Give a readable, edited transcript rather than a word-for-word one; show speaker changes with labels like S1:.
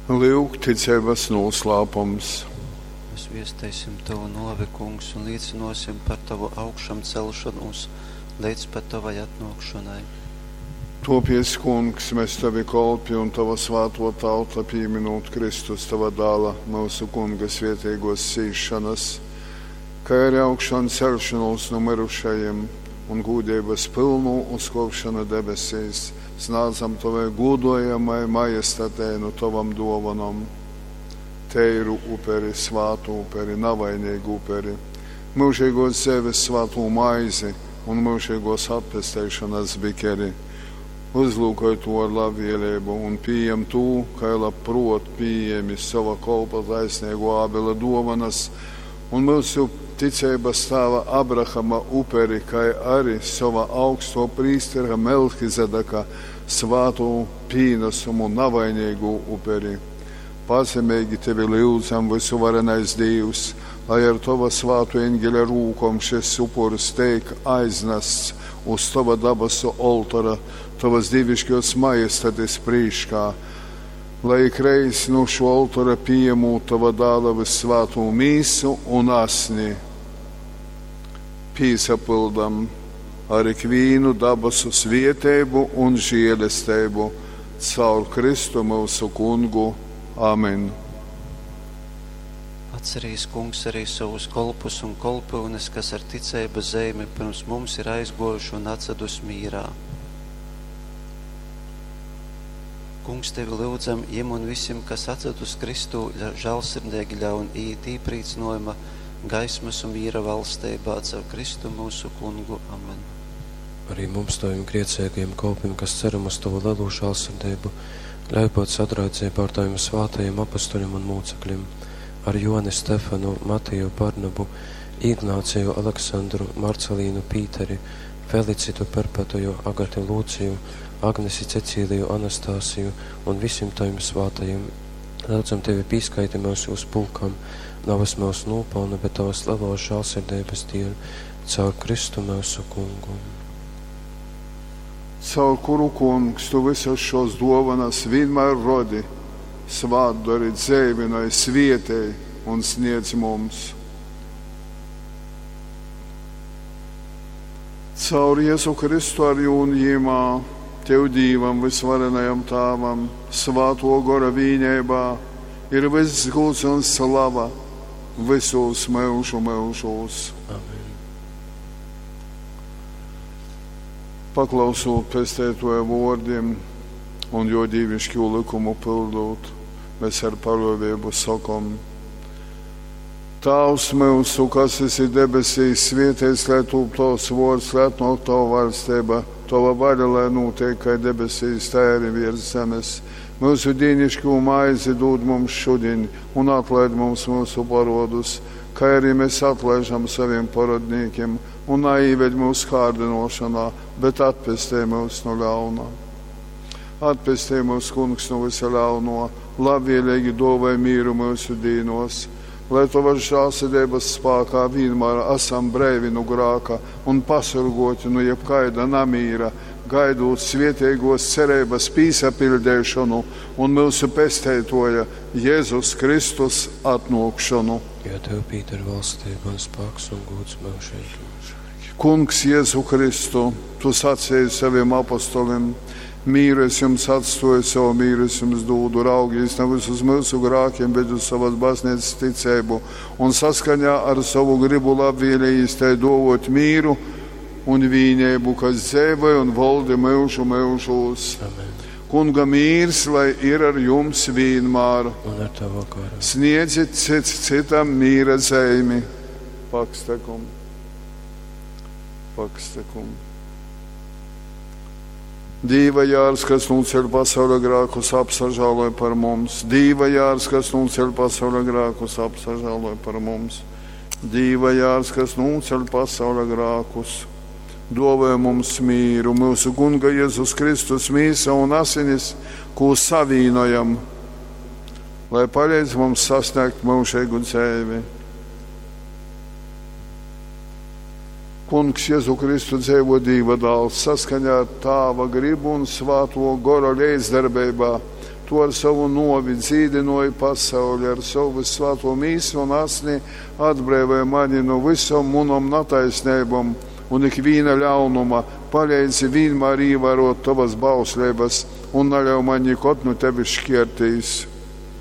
S1: Lyuk ticeibas nūslāpums.
S2: Mēs viesteisim tovu nōvi, Kungs, un līcynōsim par tovu augšamcelšonūs leidz pat tovai atnōkšonai.
S1: Tōpēc, Kungs, mes tovi kolpi un tova svātō tauta, pīmynūt Kristus, tova Dāla, myusu Kunga svēteigōs cīsšonas, kai ari augšanceļšonūs nu myrušajim un gūdeibas pylnū uzkōpšonu debesīs, snādzam tovai gūdojamai majestatei nu tovom dōvonom teiru uperi, svātu uperi, navaineigu uperi, myužeigōs dzeives svātū maizi un myužeigōs atpesteišonas bikeri. Uzlūkoj tū ar labvēleibu un pījem tū, kai labprōt pījēmi sova kolpa taisneigō Ābela dōvonas un myusu ticeibas tāva Abrahama uperi, kai ari sova augstō prīstera Melchizedeka svātū pīnasumu navaineigū uperi. Pazemeigi tevi lyudzam, vysuvarenais Dīvs, lai ar tova svātu eņgeļa rūkom šys upurs teik aiznasts uz tova dabasu oltora, tovas dīviškōs majestatis prīškā, lai ikreiz nu šō oltora pījemūt tova Dāla vyssvātū mīsu un asni, pīsapyldam ar ikvīnu dabasu svieteibu un žielesteibu caur Kristu myusu Kungu. Amen.
S2: Atcerīs, Kungs, arī savus kolpus un kolpyunes, kas ar ticeibas zeimi pirms mums ir aizgōjuši un atsadus mīrā. Kungs, tevi lyudzam, jim un visim, kas atsadus Kristū, žālsirdeigi ļaun iet īprīcynojuma, gaismas un miera valsteibā caur Kristu mūsu Kungu. Amen.
S3: Arī mums, taviem grēcīgajiem kolpiem, kas ceram uz tavu lielo žēlsirdību, ļauj būt sadraudzībā ar taviem svētajiem apustuļiem un mūcekļiem, ar Joni Stefanu, Matiju Barnabu, Ignāciju Aleksandru, Marcelīnu Pīteri, Felicitu Perpetuju, Agati Lūciju, Agnesi Cecīliju Anastāsiju un visiem taviem svētajiem. Lūdzam tevi pīskaiti mūs uz pulkam, navas mūsu nopelnu, bet tavas lielos žēlsirdības dēļ, caur Kristu mūsu Kungu.
S1: Caur kuru, Kungs, tu visas šos dovanas vienmēr rodi, svātdori, dzēvinoj, svietēj un sniedz mums. Caur Jēzu Kristu ar jūn jīmā, Tev Dīvam, vysvarenajam Tāvam, svāto gora vīneibā, ir viss gūds un slava visos myužu myužūs.
S3: Amen.
S1: Paklausūt pesteitoja vōrdim un jo dīvišķo likumu pildūt, mēs ar paļōvību sakom: Tāvs myusu, kas esi debesīs, svētīts lai tūp tavs vōrds, lai atnāk tava valstība, tava vaļa, lai notiek kā debesīs, tā arī virs zemes. Mūsu dīnišķo maizi dod mums šodien un atlaid mums mūsu parodus, kā arī mēs atlaižam saviem parodnīkiem, un neīved mūsu kārdinošanā, bet atpestē mūs no ļauna. Atpestē mūs, Kungs, no visa ļauno, labvēlīgi dāvāj mīru mūsu dīnos, lai tavas žēlsirdības spēkā vienmēr esam brīvi no grāka un pasurgoti no jebkaida namīra, gaidot svietīgos cerības pīsapildēšanu un mūsu pesteitoja Jēzus Kristus atnākšanu.
S3: Jo tev pīder valstība un spēks un gods mūžīgi.
S1: Kungs Jēzu Kristu, tu sacīji saviem apostoliem, mīru es jums atstoju, savu mīru es jums dūdu, raugīs nevis uz mūsu grākiem, bet uz savas baznīcas ticību, un saskaņā ar savu gribu labvēlījis tai dovot mīru un vīnību, kas dzēvoja un valdi myužu myužūs.
S3: Amen.
S1: Kunga mīrs, lai ir ar jums vienmēr.
S3: Un ar tavu garu.
S1: Sniedziet cits citam mīra zeimi. Pakstekum. Pakstekum. Dīva jārs, kas nūceļ pasaules grākus, apsažāloj par mums. Dīva jārs, kas nūceļ pasaules grākus, apsažāloj par mums. Dīva jārs, kas nūceļ pasaules grākus, dāvāj mums mīru, mūsu Kunga Jēzus Kristus mīsa un asinis, ko savīnojam, lai palīdz mums sasniegt mūžīgu dzīvi. Kungs Jēzu Kristu dzīvo Dieva dēls, saskaņā ar Tāva gribu un Svāto gora līdzdarbeibā, Tu ar sovu nōvi dzīdynōji pasauli, ar sovu vyssvātū Mīsu un Asni atbreivoj mani nu vysom munom nataisneibom un ikvīna ļaunuma, paleidzi vīnmār īvārōt tovas bausleibas un naļauj maņ nikod nu tevis škērtīs.